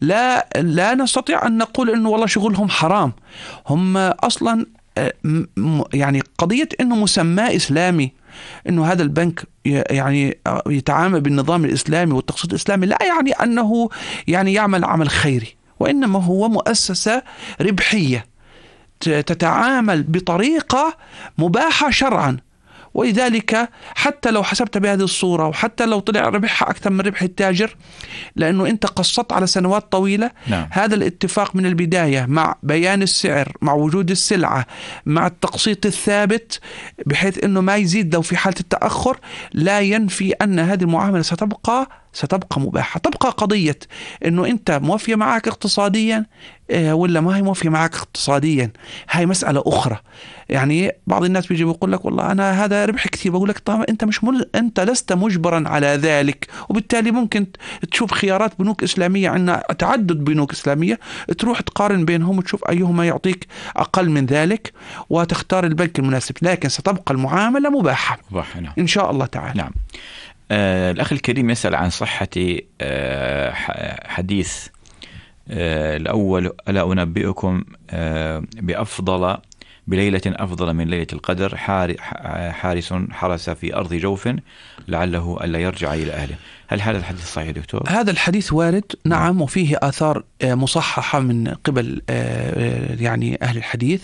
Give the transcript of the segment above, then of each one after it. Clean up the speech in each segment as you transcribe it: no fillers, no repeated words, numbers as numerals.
لا نستطيع أن نقول إنه والله شغلهم حرام. هم أصلا يعني قضية إنه مسمى إسلامي، إنه هذا البنك يعني يتعامل بالنظام الإسلامي والتقسيط الإسلامي، لا يعني أنه يعني يعمل عمل خيري، وإنما هو مؤسسة ربحية تتعامل بطريقة مباحة شرعا. ولذلك حتى لو حسبت بهذه الصورة، وحتى لو طلع ربحها أكثر من ربح التاجر، لأنه أنت قسطت على سنوات طويلة. نعم. هذا الاتفاق من البداية مع بيان السعر، مع وجود السلعة، مع التقسيط الثابت، بحيث أنه ما يزيد لو في حالة التأخر، لا ينفي أن هذه المعاملة ستبقى مباحة. تبقى قضية أنه أنت موفية معك اقتصاديا ولا ما هي موفية معك اقتصاديا، هاي مسألة أخرى. يعني بعض الناس بيجي بيقول لك والله أنا هذا ربح كثير، بقول لك طبعا أنت لست مجبرا على ذلك، وبالتالي ممكن تشوف خيارات بنوك إسلامية، عندنا تعدد بنوك إسلامية، تروح تقارن بينهم وتشوف أيهما يعطيك أقل من ذلك وتختار البنك المناسب، لكن ستبقى المعاملة مباحة نعم. إن شاء الله تعالى. نعم. الأخ الكريم يسأل عن صحة حديث الأول: ألا أنبئكم بليلة أفضل من ليلة القدر، حارس حرس في أرض جوف لعله ألا يرجع إلى أهله. هل هذا الحديث صحيح دكتور؟ هذا الحديث وارد، نعم، وفيه آثار مصححة من قبل يعني أهل الحديث.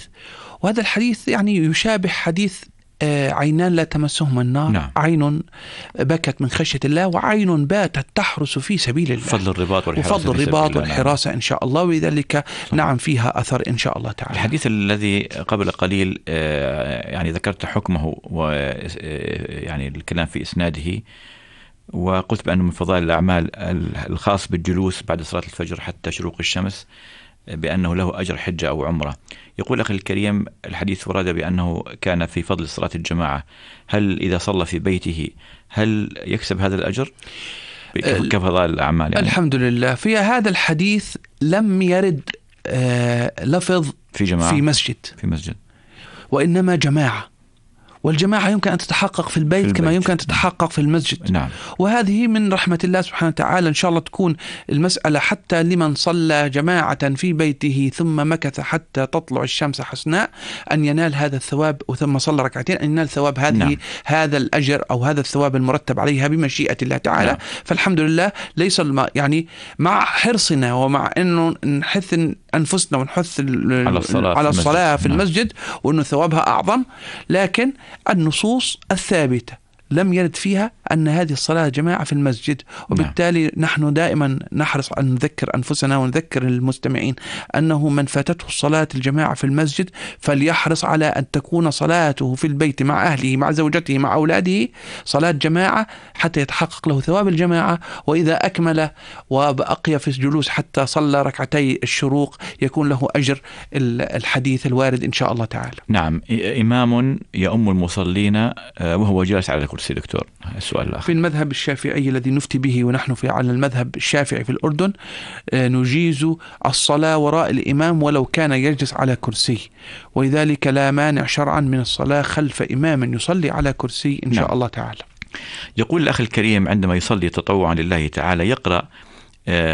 وهذا الحديث يعني يشابه حديث عينان لا تمسهما النار. نعم. عين بكت من خشية الله، وعين باتت تحرس في سبيل الله. فضل الرباط والحراسة إن شاء الله. ولذلك نعم فيها أثر إن شاء الله تعالى. الحديث الذي قبل قليل يعني ذكرت حكمه ويعني الكلام في إسناده، وقلت بأنه من فضائل الأعمال الخاص بالجلوس بعد صلاة الفجر حتى شروق الشمس، بأنه له أجر حجة أو عمرة. يقول أخي الكريم: الحديث ورد بأنه كان في فضل صلاة الجماعة، هل إذا صلى في بيته هل يكسب هذا الأجر كفضائل الأعمال؟ يعني الحمد لله. في هذا الحديث لم يرد لفظ في مسجد، وإنما جماعة، والجماعة يمكن أن تتحقق في البيت كما يمكن أن تتحقق في المسجد. نعم. وهذه من رحمة الله سبحانه وتعالى. إن شاء الله تكون المسألة حتى لمن صلى جماعة في بيته ثم مكث حتى تطلع الشمس حسناء أن ينال هذا الثواب، وثم صلى ركعتين أن ينال ثواب هذه. نعم. هذا الأجر أو هذا الثواب المرتب عليها بمشيئة الله تعالى. نعم. فالحمد لله. ليس يعني مع حرصنا ومع أنه نحث أنفسنا ونحث على الصلاة في المسجد وأنه ثوابها أعظم، لكن النصوص الثابتة لم يرد فيها أن هذه الصلاة جماعة في المسجد. وبالتالي نحن دائما نحرص أن نذكر أنفسنا ونذكر المستمعين أنه من فاتته الصلاة الجماعة في المسجد فليحرص على أن تكون صلاته في البيت مع أهله مع زوجته مع أولاده صلاة جماعة حتى يتحقق له ثواب الجماعة. وإذا أكمل وبقي في الجلوس حتى صلى ركعتي الشروق يكون له أجر الحديث الوارد إن شاء الله تعالى. نعم. إمام يؤم المصلين وهو جالس على الكرسي. دكتور، السؤال الآخر: في المذهب الشافعي الذي نفتي به ونحن على المذهب الشافعي في الأردن نجيز الصلاة وراء الإمام ولو كان يجلس على كرسي، ولذلك لا مانع شرعا من الصلاة خلف إمام يصلي على كرسي إن شاء الله تعالى. يقول الأخ الكريم: عندما يصلي تطوعا لله تعالى يقرأ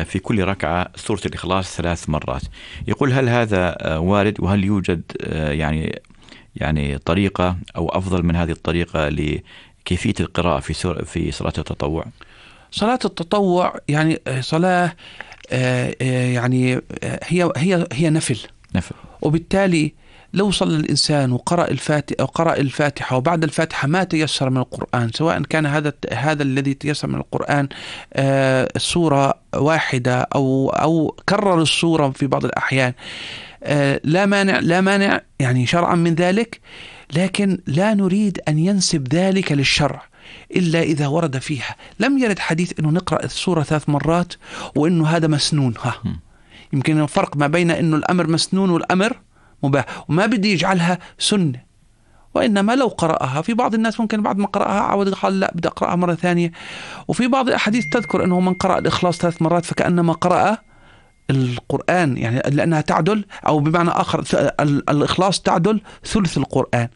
في كل ركعة سورة الإخلاص 3 مرات. يقول: هل هذا وارد؟ وهل يوجد يعني طريقة أو أفضل من هذه الطريقة لكيفية القراءة في صلاة التطوع؟ صلاة التطوع يعني صلاة يعني هي نفل، وبالتالي لو صلى الإنسان وقرأ الفاتحة وبعد الفاتحة ما تيسر من القرآن، سواء كان هذا الذي تيسر من القرآن سورة واحدة أو كرر السورة في بعض الأحيان، لا مانع يعني شرعا من ذلك، لكن لا نريد أن ينسب ذلك للشرع إلا إذا ورد فيها. لم يرد حديث أنه نقرأ السورة 3 مرات وأنه هذا مسنون. يمكن الفرق ما بين أنه الأمر مسنون والأمر مباح، وما بدي يجعلها سنة، وإنما لو قرأها. في بعض الناس ممكن بعد ما قرأها عود قال لا بدي أقرأها مرة ثانية. وفي بعض الأحاديث تذكر أنه من قرأ الإخلاص 3 مرات فكأنما قرأ القرآن، يعني لأنها تعدل، أو بمعنى آخر الإخلاص تعدل ثلث القرآن.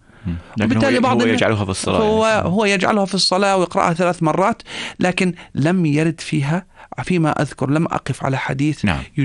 وبالتالي بعض هو يجعلها في الصلاة، هو يجعلها في الصلاة ويقرأها 3 مرات، لكن لم يرد فيها فيما أذكر لم أقف على حديث نعم.